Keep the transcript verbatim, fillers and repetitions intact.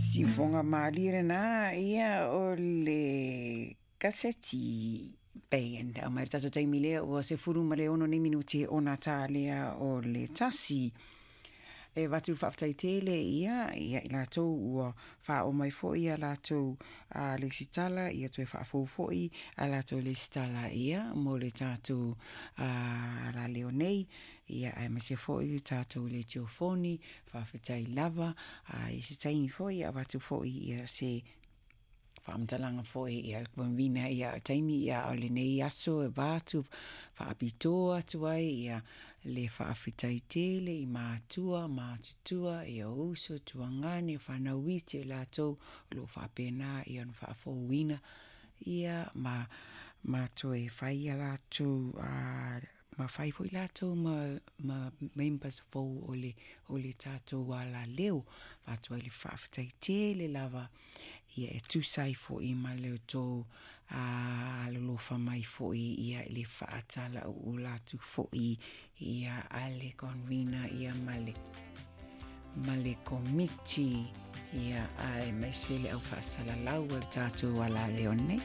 Siufoga malie lenā ia o le kaseti band au mai le tatou taimi lea ua sefulu ma le ono nei minuti ona tā lea o le tasi. E avatu le faafetai tele ia ia i latou ua faaoo mai foi ia latou a lesitala ia toe faafou foi a latou lesitala ia mo le tatou alaleo nei ia aemaise foi le tatou letiofoni. Faafetai lava a i se taimi foi ia avatu foi ia se faamatalaga foi ia convener ia taimi ia o lenei aso e avatu faapitoa atu ai ia le faafetai tele i matua matutua ia uso tuagane fanau iti o latou o loo faapena ia ona faafouina ia ma ma toe fai ia latou a ma fai foi latou ma ma members fou o le o le tatou alaleo. Avatu ai le faafetai tele lava ia e tusa ai foi ma le outou alolofa mai foi ia i le faatalauula atu foi ia a le convener ia ma le ma le komiti ia aemaise le au faasalalau o le tatou alaleo nei.